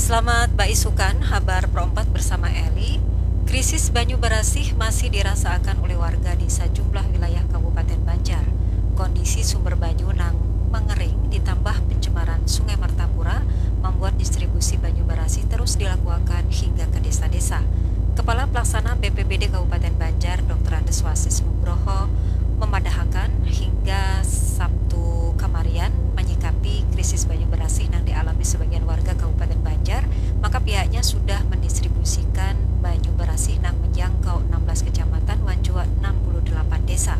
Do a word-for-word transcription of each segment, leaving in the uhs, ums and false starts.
Selamat baisukan, habar perompat bersama Eli. Krisis banyu barasih masih dirasaakan ulih warga di sajumlah wilayah Kabupaten Banjar. Kondisi sumber banyu nang mangering ditambah pencemaran Sungai Martapura mambuat distribusi banyu barasih terus dilakuakan hingga ka desa-desa. Kepala Pelaksana B P B D Kabupaten Banjar, Doktor Andes Wasis Nugroho, memadahakan hingga Sabtu kamarian manyikapi krisis banyu barasih nang dialami sebagian warga Kabupaten Banjar, maka pihaknya sudah mendistribusikan banyu barasih nang menjangkau enam belas kecamatan wan jua enam puluh delapan desa.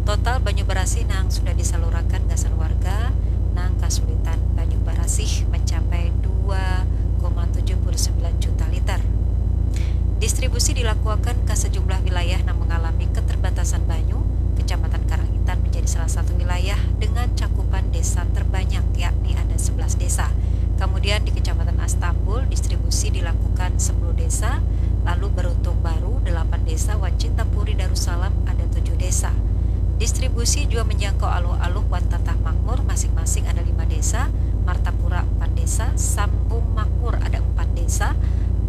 Total banyu barasih nang sudah disalurakan gasan warga nang kasulitan banyu barasih mencapai dua koma tujuh puluh sembilan juta liter. Distribusi dilakuakan ke sejumlah wilayah nang mengalami keterbatasan banyu. Kecamatan Karangitan menjadi salah satu wilayah dengan cakupan desa terbanyak, yakni ada sebelas desa. Kemudian di Kecamatan Astambul, distribusi dilakukan sepuluh desa, lalu Beruntung Baru, delapan desa, wan Cintapuri Darussalam ada tujuh desa. Distribusi juga menjangkau Aluh-Aluh wan Tatah Makmur, masing-masing ada lima desa, Martapura empat desa, Sambung Makmur ada empat desa,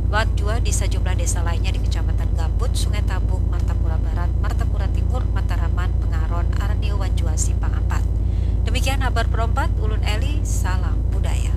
wan jua di sajumlah desa lainnya di Kecamatan Gambut, Sungai Tabuk, Martapura Barat, Martapura Timur, Mataraman, Pengaron, Arnio, wan jua Simpang Ampat. Demikian habar perompat, ulun Eli, salam budaya.